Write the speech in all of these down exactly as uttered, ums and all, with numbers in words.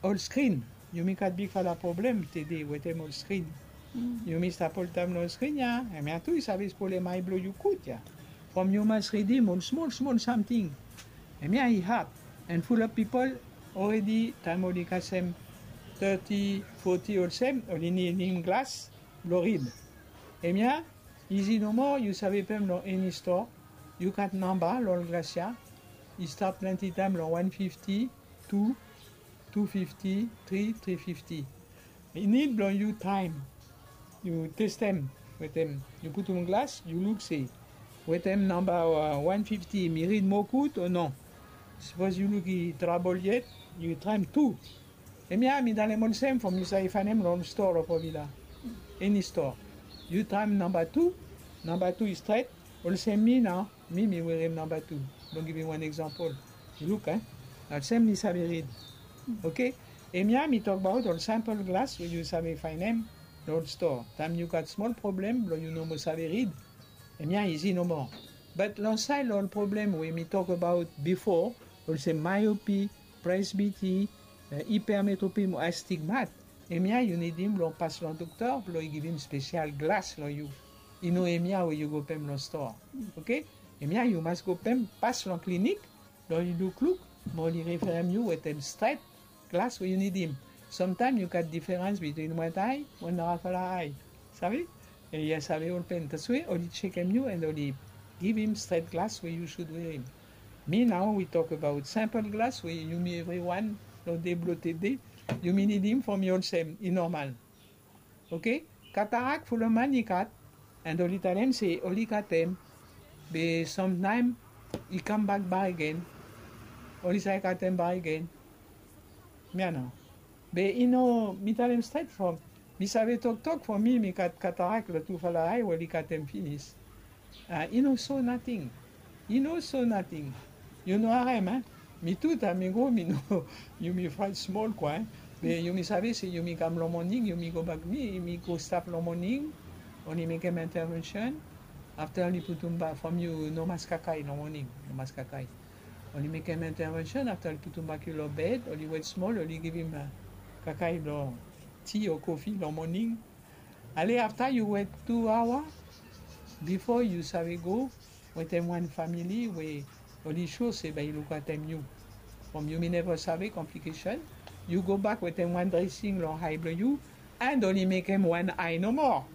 ol skrin. Yumi gat bigfala problem tede wetem ol skrin. Yumi stap oltaem long skrin ya, hemia tu i save spolem ai blong yu gud ya. From yu mas ridim ol smol smol samting, hemia i had. An fulap pipol oredi taem oli kasem teti, foti olsem, oli nidim glas blong rid. Hemia izi nomo, yu save pem long eni stoa. Yu gat namba long ol glas ya. I stap plante taem long wan fifti, tu, tu fifti, tri, tri fifti. I nid blong yu traem, yu testem wetem, yu putum glas, yu luk se wetem namba wan fifti mi rid moa gud o no. Sapos yu luk i trabol yet, yu traem tu. Hemia mi talem olsem from yu save faenem long ol stoa long Fovila. Eni stoa. Yu traem namba tu, namba tu i stret, olsem mi nao, mi mi werem namba tu. Blong givim wan eksampol. Yu luk, e? Olsem mi save rid. Oke? Hemia mi tokbaot ol sampol glas we yu save faenem long ol stoa. Taem yu gat smol problem blong yu no moa save rid, hemia izi nomo. Bat long saed long ol problem we mi tokbaot bifo, olsem myope, presbytie, e, hypermetropie mo astigmat, hemia yu nidim blong pas long dokta blong i givim spesial glas long yu. I no hemia we yu go pem long stoa. Oke? Hemia yu mas go pem, pas long klinik, blong oli lukluk, mo oli referem yu wetem stret glas we yu nidim. Samtaem yu gat diferans bitwin wet ae mo narafala ae. Save? E, yu save olpen. Taswe oli jekem yu an oli givim stret glas we yu sud werim. Mi nao wi tokbaot sampol glas we yumi evriwan long dei blong tede yumi nidim from yu olsem i nomal. Oke? Katarak fulap man i gat, an oli talem se oli gatem, be samtaem i kambak bakegen. Oli save gatem bakegen. Hemia nao. Be i no, mi talem stret from mi save toktok from mi, mi gat katarak long tufala ae we oli gatem finis. A, i no so nating. I no so nating. Yu no harem, e? Mi tu taem mi go, mi no, yumi fraet smol kwa, e? Be yumi save se yumi kam long moning, yumi gobak, mi, mi go stap long moning, oli mekem intervention. Afta oli putum bak from yu, no mas kakae long moning, no mas kakae. Oli mekem intervention, afta oli putum bak yu long bed, oli wet smol, oli givim, e, kakae blong ti o kofi long moning. Ale afta yu wet tu aoa bifo yu save go wetem wan famili we oli sua se bae i lukatem yu. From yumi neva save komplikesen, yu gobak wetem wan dresing long ae blong yu, an oli mekem wan ae nomo.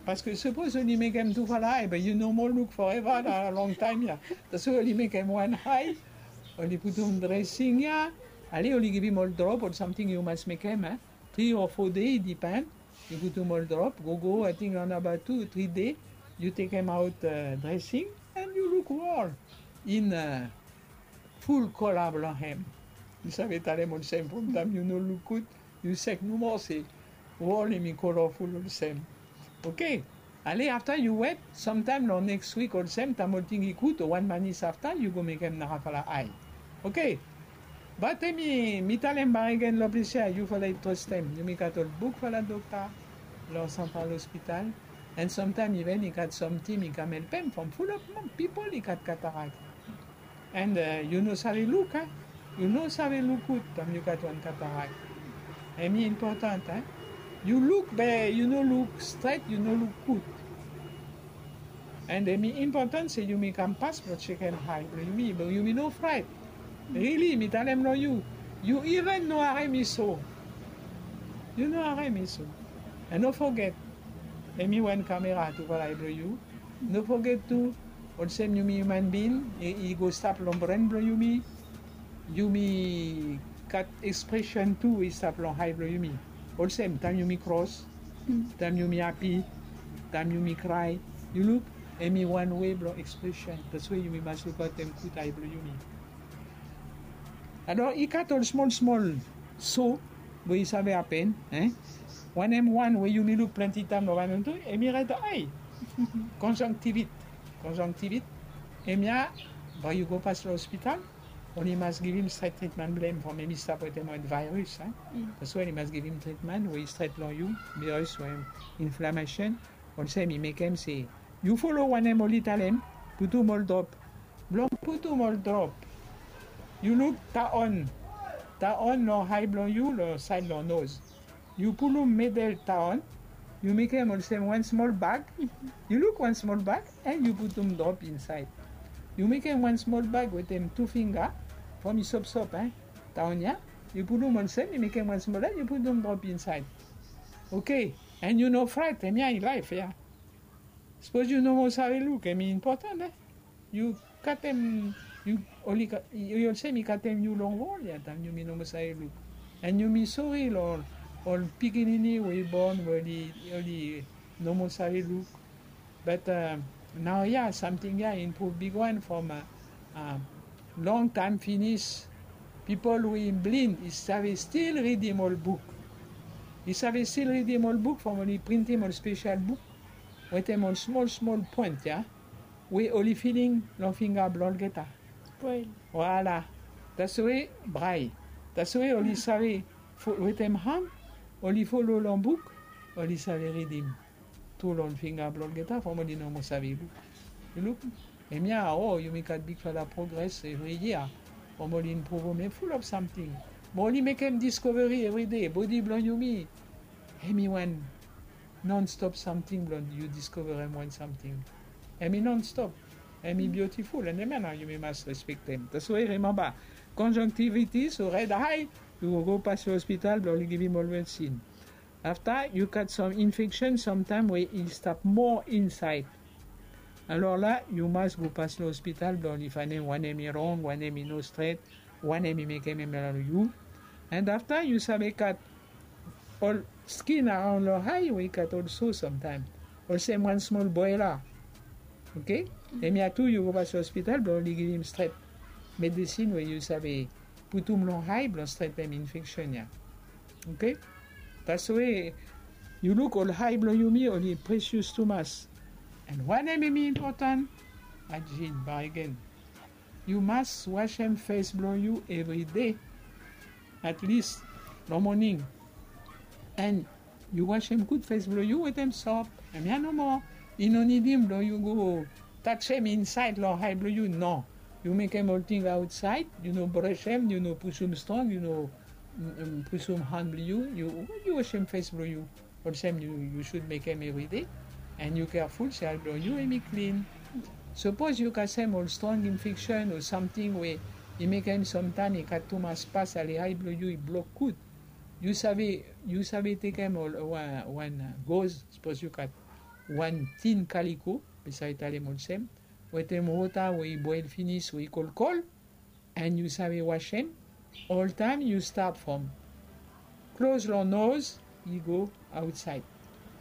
Paske sapos oli mekem tufala ae, be yu no moa luk foreva na longtaem ya. Taswe oli mekem wan ae, oli putum dresing ya, ale oli givim ol drop, ol samting yu mas mekem, e. Tri o fo dei, i dipen. Yu putum ol drop, gogo, ating long namba tu, tri dei, yu tekemaot, e, dresing, an yu luk wol in, e, ful kola blong hem. Mi save talem olsem, from taem yu no luk gud, yu sek nomo se wol hemi kolaful olsem. Oke. Ale afta yu wet, samtaem long neks wik olsem, taem ol ting i gud o wan manis afta, yu go mekem narafala ae. Oke. Bat hemi, mi talem bakegen long ples ya, yufala i trastem. Yumi gat ol bigfala dokta long Central Hospital. An samtaem iven i gat sam tim i kam helpem from fulap pipol i gat katarak. An, e, yu no save luk, e? Yu no save luk gud taem yu gat wan katarak. Hemi impotan, e? Yu luk be yu no luk stret, yu no luk gud. An hemi impotan se yumi kam pas blong jekem ae blong yumi, be yumi no fraet. Rili, mi talem long yu, yu iven no harem i so. Yu no harem i so. An no foget, hemi wan kamera tufala ae blong yu. No foget tu, olsem yumi hiuman bin, i, i go stap long bren blong yumi. Yumi gat ekspresen tu i stap long ae blong yumi. Olsem, taem yumi kros, taem yumi hapi, taem yumi krae. Yu luk, hemi wan wei blong ekspresen. Taswe yumi mas lukaotem gud ae blong yumi. Alor, i gat ol smol smol so we i save hapen, e? Wanem wan we yumi luk plante taem long wan tu, hemi red ae. Konjonktivit. Konjonktivit. Hemia, bae yu go pas long ospital, oli mas givim stret tritman blong hem from hemi stap wetem wan vaeros, e? Taswe oli mas givim tritman we i stret long yu, vaeros we inflamasen. Olsem i mekem se yu folo wanem oli talem, putum ol drop. Blong putum ol drop, yu luk taon taon long ae blong yu, long saed long noz. Yu pulum medel taon, yu mekem olsem wan smol bag. Yu luk, wan smol bag, and yu putum drop insaed. Yu mekem wan smol bag wetem tu finga, from i sopsop, eh, taon ya. Yu pulum olsem, yu mekem wan smol bag, yu putum drop insaed. Oke, and yu no fraet, hemia i laef ya. Sapos yu no moa save luk, hemi impotan, eh. Yu katem, yu oli ka-, yu olsem i katem yu long wol ya, taem yumi no moa save luk. And yumi sore long ol pikinini we i bon we oli, oli no moa save luk. But, uh, naoia samting ya i impruv bigwan from, uh, uh, longtaem finis. Pipol we i blin i save stil ridim ol buk. I save stil ridim ol buk from oli printim ol spesel buk wetem ol smol smol poen ya, we oli filing long finga blong olgeta. Braille. Voilà. Taswe, braille. Taswe oli save fo-, wetem han, oli folo long buk, oli save ridim tu long finga blong olgeta from oli no moa save luk. Yu luk, hemia, o, yumi gat bigfala progres evri yia from oli impruvum, hemi ful of samting. Mo oli mekem diskoveri evri dei, bodi blong yumi, hemi wan nonstop samting blong yu diskoverem wan samting. Hemi nonstop. Hemi biutiful, and hemia nao yumi mas respektem. Taswe rimemba, conjunctivitis o red eye, yu go, go pas long ospital blong oli givim ol medesin. Afta, yu gat sam infeksen samtaem we i stap moa insaed. Alor la, yu mas go pas long ospital blong oli faenem wanem i rong, wanem i no stret, wanem i mekem hemia long yu. And afta, yu save gat ol skin araon long ae we i gat ol so samtaem. Olsem wan smol boela. Oke? Hemia tu yu go pas long ospital blong oli givim stret medesin we yu save putum long ae blong stretem infeksen ya. Oke? Taswe yu luk, ol ae blong yumi oli presius tumas. And wanem hemi impotan? Ajin, bakegen. Yu mas wasem fes blong yu evri dei, at least long moning. And yu wasem gud fes blong yu wetem sop. Hemia nomo. I no nidim blong yu go tajem insaed long ae blong yu, no. Yu mekem olting aotsaed, yu no bresem, yu no pusum strong, yu no, mm, mm, pusum han blong yu, yu, yu wasem fes blong yu. Olsem yu, yu sud mekem evri dei, and yu keaful se ae blong yu hemi klin. Sapos yu kasem ol strong infeksen o samting we i mekem samtaem i gat tumas pas ale ae blong yu i blok gud, yu save, yu save tekem ol, wan, wan goz, sapos yu gat wan tin kaliko, mi save talem olsem, wetem wota we i boel finis we i kolkol, and yu save wasem. Oltaem yu stat from klos long noz, i go aotsaed.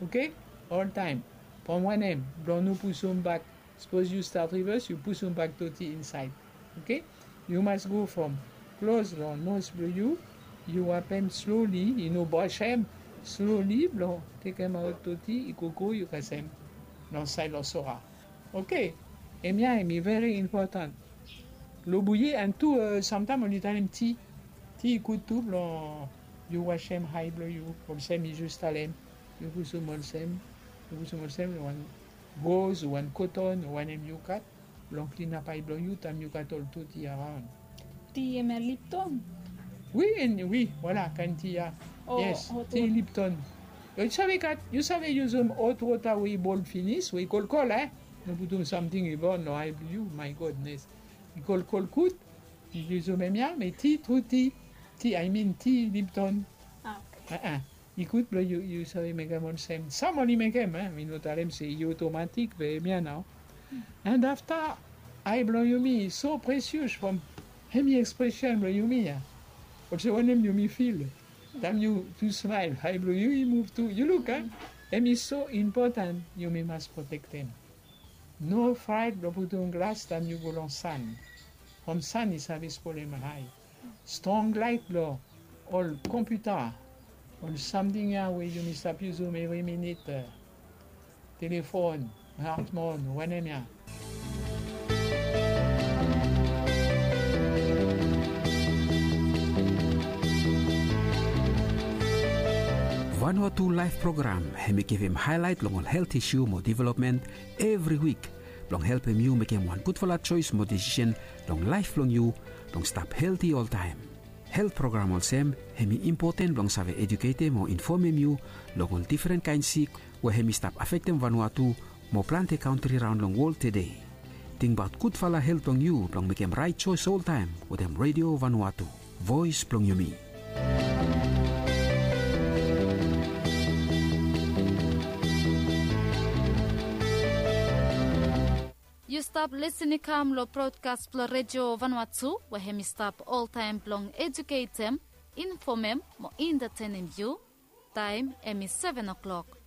Oke? Oltaem. From wanem? Blong no pusum bak. Sapos yu stat rivas, yu pusum bak doti insaed. Oke? Yu mas go from klos long noz blong yu, yu wapem sloli, i no bresem, sloli blong tekemaot doti, i gogo yu kasem long saed long sora. Oke, hemia hemi veri impotan. Lo bouillie, and tu, eh, samtaem oli talem ti. Ti i gud tu blong yu wasem ae blong yu, olsem mi just talem. Yu pusum olsem, yu pusum olsem, wan goz, wan koton, wanem yu gat, blong klinap ae blong yu taem yu gat ol doti araon. Ti hemia Lipton? Wi, en, wi, voilà, kaen ti ya. O, yes, hot, ti hot. Lipton. Yu save gat, yu save yusum hot wota we i boel finis, we i kolkol, eh? No putum samting i bon long ae blong yu, my goodness. I kolkol gud, yu yusum hemia, be ti, tru ti. Ti, I mean, ti Lipton. Ah, oke. Ah, ah. I gud blong yu, yu save mekem olsem. Sam oli mekem, eh? Mi no talem se i otomatik, be hemia nao. And afta, ae blong yumi i so presius from hemi ekspresen blong yumi ya. Olsem wanem yumi fil taem yu tu smael, ae blong yu i muv tu. Yu luk, eh? Hemi so impotan, yumi mas protektem. No fraet blong putum glas taem yu go long san. From san i save spolem ae. Strong laet blong ol kompiuta, ol samting ya we yumi stap yusum evri minit, eh, telefon, smartphone, wanem ya. Vanuatu Laef Program hemi givim haelaet long ol helt isu mo developmen evri wik, blong helpem yu mekem wan gudfala joes mo desisen long laef blong yu, blong stap helti oltaem. Helt program olsem hem i impoten blong save ejuketem o infomem yu long ol difren kaen sik we hem i stap afektem Vanuatu mo plante kantri raon long wol tede. Tingbaot gudfala helt blong yu blong mekem raet joes oltaem wetem Redio Vanuatu, voes blong yumi. Yu stap lisin i kam long brodkas blong Redio Vanuatu we hem i stap oltaem blong ejuketem, infomem mo entatenem yu. Taem hem i seven o'klok.